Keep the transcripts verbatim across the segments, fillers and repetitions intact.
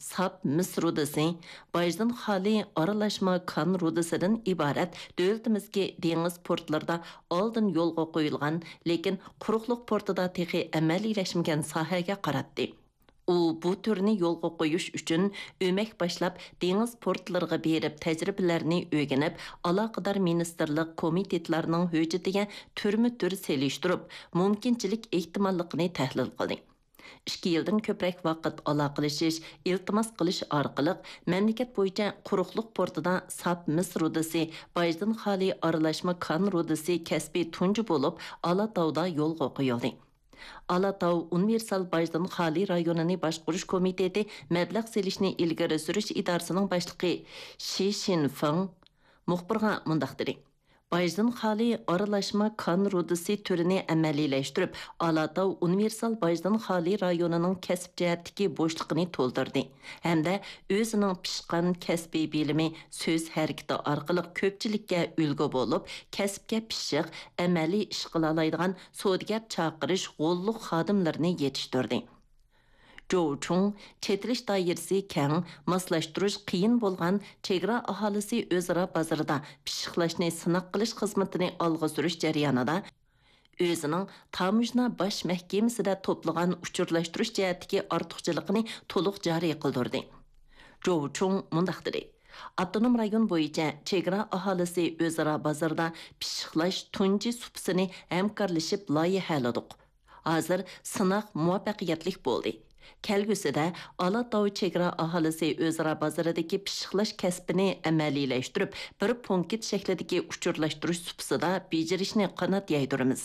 ساپ مىس رۇدىسى، باجدىن خالىي ئارىلاشما كان رۇدىسىدىن ئىبارەت دۆلىتىمىزدىكى دېڭىز پورتلىرىدا ئالدىن يولغا قويۇلغان، لېكىن قۇرۇقلۇق پورتىدا تېخى ئەمەلىيلەشمىگەن ساھەگە قاراتتى. ئۇ بۇ تۈرنى يولغا قويۇش ئۈچۈن ئۆمەك باشلاپ، دېڭىز پورتلىرىغا بېرىپ تەجرىبىلەرنى ئۆگىنىپ، ئالاقىدار مىنىستىرلىق، كومىتېتلارنىڭ ھۆججىتىگە تۈرمە تۈر سېلىشتۇرۇپ، مۇمكىنچىلىك ئېھتىماللىقىنى تەھلىل قىلدى. ئىككى يىلدىن كۆپرەك ۋاقىت ئالاقىلىشىش، ئىلتىماس قىلىش ئارقىلىق مەملىكەت بويىچە قۇرۇقلۇق پورتىدا ساپ مىس رۇدىسى، باجدىن خالىي ئارىلاشما كان رۇدىسى كەسپى تۇنجى بولۇپ ئالاتاۋدا يولغا قويۇلدى. ئالاتاۋ ئۇنىۋېرسال باجدىن خالىي رايونىنى باشقۇرۇش كومىتېتى مەبلەغ سېلىشنى ئىلگىرى سۈرۈش ئىدارىسىنىڭ باشلىقى شى شىنفېڭ مۇخبىرغا مۇنداق دېدى: باجدىن خالىي ئارىلاشما كان رۇدىسى تۈرىنى ئەمەلىيلەشتۈرۈپ، ئالاتاۋ ئۇنىۋېرسال باجدىن خالىي رايونىنىڭ كەسىپ جەھەتتىكى بوشلۇقىنى تولدۇردى ھەمدە ئۆزىنىڭ پىشقان كەسپىي بىلىمى، سۆز ھەرىكىتى ئارقىلىق كۆپچىلىككە ئۈلگە بولۇپ، كەسىپكە پىششىق، ئەمەلىي ئىش قىلالايدىغان سودىگەر چاقىرىش غوللۇق خادىملىرىنى يېتىشتۈردى. جوۋ چۇڭ چېتىلىش دائىرىسى كەڭ، ماسلاشتۇرۇش قىيىن بولغان چېگرا ئاھالىسى ئۆزئارا بازىرىدا پىششىقلاشنى سىناق قىلىش خىزمىتىنى ئالغا سۈرۈش جەريانىدا، ئۆزىنىڭ تاموژنا باش مەھكىمىسىدە توپلىغان ئۇچۇرلاشتۇرۇش جەھەتتىكى ئارتۇقچىلىقىنى تولۇق جارى قىلدۇردى. جوۋ چۇڭ مۇنداق دېدى: ئاپتونوم رايون بويىچە چېگرا ئاھالىسى ئۆزئارا بازىرىدا پىششىقلاش تۇنجى سۇپىسىنى ھەمكارلىشىپ لايىھەلىدۇق. ھازىر سىناق مۇۋەپپەقىيەتلىك بولدى. كەلگۈسىدە ئالاتاۋ چېگرا ئاھالىسى ئۆزئارا بازىرىدىكى پىششىقلاش كەسپىنى ئەمەلىيلەشتۈرۈپ، بىر پونكىت شەكلىدىكى ئۇچۇرلاشتۇرۇش سۇپىسىدا بېجىرىشنى قانات يايدۇرىمىز.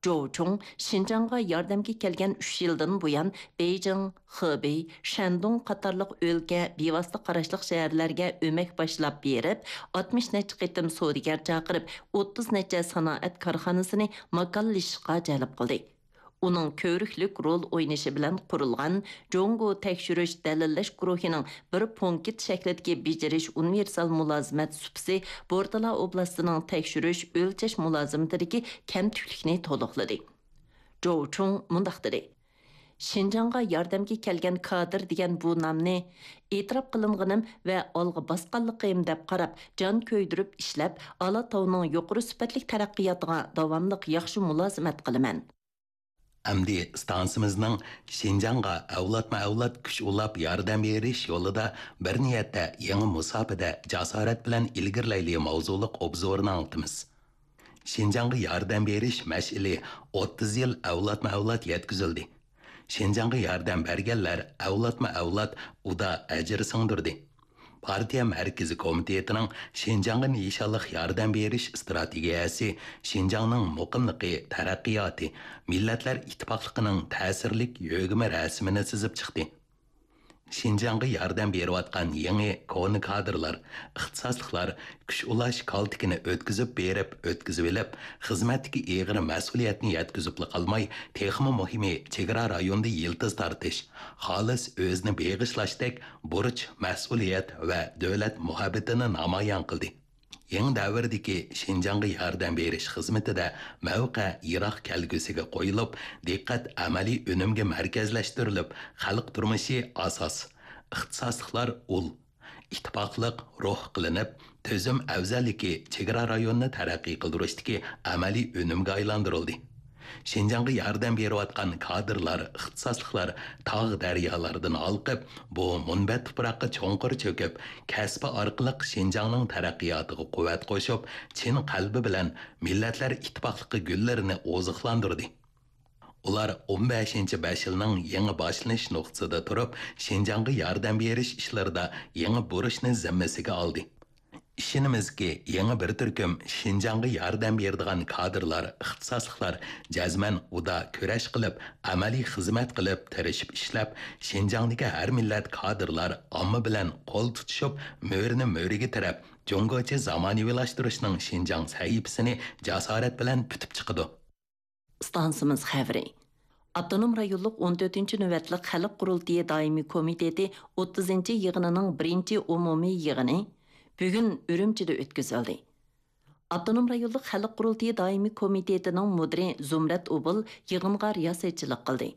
جوۋ چۇڭ شىنجاڭغا ياردەمگە كەلگەن ئۈچ يىلدىن بۇيان، بېيجىڭ، خېبېي، شەندۇڭ قاتارلىق ئۆلكە بىۋاسىتە قاراشلىق شەھەرلەرگە ئۆمەك باشلاپ بېرىپ، ئاتمىش نەچچە قېتىم سودىگەر چاقىرىپ، ئوتتۇز نەچچە سانائەت كارخانىسىنى ماكانلىشىشقا جەلپ قىلدى. ئۇنىڭ كۆۋرۈكلۈك رول ئوينىشى بىلەن قۇرۇلغان جۇڭگو تەكشۈرۈش، دەلىللەش گۇرۇھىنىڭ بىر پونكىت شەكلىدىكى بېجىرىش ئۇنىۋېرسال مۇلازىمەت سۇپىسى بورتالا ئوبلاستىنىڭ تەكشۈرۈش، ئۆلچەش مۇلازىمىتىدىكى كەمتۈكلۈكنى تولۇقلىدى. جوۋ چۇڭ مۇنداق دېدى: شىنجاڭغا ياردەمگە كەلگەن كادىر دېگەن بۇ نامنى ئېتىراپ قىلىنغىنىم ۋە ئالغا باسقانلىقىم دەپ قاراپ، جان كۆيدۈرۈپ ئىشلەپ، ئالاتاۋنىڭ يۇقىرى سۈپەتلىك تەرەققىياتىغا داۋاملىق ياخشى مۇلازىمەت قىلىمەن. ئەمدى ئىستانسىمىزنىڭ شىنجاڭغا ئەۋلادمۇ ئەۋلاد كۈچ ئۇلاپ ياردەم بېرىش يولىدا بىر نىيەتتە يېڭى مۇساپىدە جاسارەت بىلەن ئىلگىرىلەيلى ماۋزۇلۇق ئوبزورىنى ئاڭلىتىمىز. شىنجاڭغا ياردەم بېرىش مەشئىلى ئوتتۇز يىل ئەۋلادمۇ ئەۋلاد يەتكۈزۈلدى. شىنجاڭغا ياردەم بەرگەنلەر ئەۋلادمۇ ئەۋلاد ئۇدا ئەجىر سىڭدۈردى. پارتىيە مەركىزىي كومىتېتىنىڭ شىنجاڭغا نىشانلىق ياردەم بېرىش ئىستراتېگىيەسى شىنجاڭنىڭ مۇقىملىقى، تەرەققىياتى، مىللەتلەر ئىتتىپاقلىقىنىڭ تەسىرلىك يۆگىمە رەسىمىنى سىزىپ چىقتى. شىنجاڭغا ياردەم بېرىۋاتقان يېڭى، كونا كادىرلار، ئىختىساسلىقلار كۈچ ئۇلاش كالتىكىنى ئۆتكۈزۈپ بېرىپ، ئۆتكۈزۈۋېلىپ، خىزمەتتىكى ئېغىر مەسئۇلىيەتنى يەتكۈزۈپلا قالماي، تېخىمۇ مۇھىمى، چېگرا رايونىدا يىلتىز تارتىش، خالىس ئۆزىنى بېغىشلاشتەك بۇرچ، مەسئۇلىيەت ۋە دۆلەت مۇھەببىتىنى نامايان قىلدى. يېڭى دەۋردىكى شىنجاڭغا ياردەم بېرىش خىزمىتىدە مەۋقە يىراق كەلگۈسىگە قويۇلۇپ، دىققەت ئەمەلىي ئۈنۈمگە مەركەزلەشتۈرۈلۈپ، خەلق تۇرمۇشى ئاساس، ئىختىساسلىقلار ئۇل، ئىتتىپاقلىق روھ قىلىنىپ، تۈزۈم ئەۋزەللىكى چېگرا رايونىنى تەرەققىي قىلدۇرۇشتىكى ئەمەلىي ئۈنۈمگە ئايلاندۇرۇلدى. شىنجاڭغا ياردەم بېرىۋاتقان كادىرلار، ئىختىساسلىقلار تاغ دەريالاردىن ھالقىپ، بۇ مۇنبەت تۇپراققا چوڭقۇر چۆكۈپ، كەسپى ئارقىلىق شىنجاڭنىڭ تەرەققىياتىغا قۇۋۋەت قوشۇپ، چىن قەلبى بىلەن مىللەتلەر ئىتتىپاقلىقى گۈللىرىنى ئوزۇقلاندۇردى. ئۇلار ئون بەشىنچى بەش يىلنىڭ يېڭى باشلىنىش نۇقتىسىدا تۇرۇپ، شىنجاڭغا ياردەم بېرىش ئىشلىرىدا يېڭى بۇرچنى زىممىسىگە ئالدى. ئىشىنىمىزكى، يېڭى بىر تۈركۈم شىنجاڭغا ياردەم بېرىدىغان كادىرلار، ئىختىساسلىقلار جەزمەن ئۇدا كۈرەش قىلىپ، ئەمەلىي خىزمەت قىلىپ، تىرىشىپ ئىشلەپ، شىنجاڭدىكى ھەر مىللەت كادىرلار ئامما بىلەن قول تۇتۇشۇپ، مۈرىنى مۈرىگە تىرەپ، جۇڭگوچە زامانىۋىلاشتۇرۇشنىڭ شىنجاڭ سەھىپىسىنى جاسارەت بىلەن پۈتۈپ چىقىدۇ. ئىستانسىمىز خەۋىرى. ئاپتونوم رايونلۇق ئون تۆتىنچى نۆۋەتلىك خەلق قۇرۇلتىيى دائىمىي كومىتېتى ئوتتۇزىنچى يىغىنىنىڭ بىرىنچى ئومۇمىي يىغىنى بۈگۈن ئۈرۈمچىدە ئۆتكۈزۈلدى. ئاپتونوم رايونلۇق خەلق قۇرۇلتىيى دائىمىي كومىتېتىنىڭ مۇدىرى زۇمرەت ئوبۇل يىغىنغا رىياسەتچىلىك قىلدى.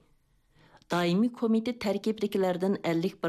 دائىمىي كومىتېت تەركىبىدىكىلەردىن ئەللىك بىر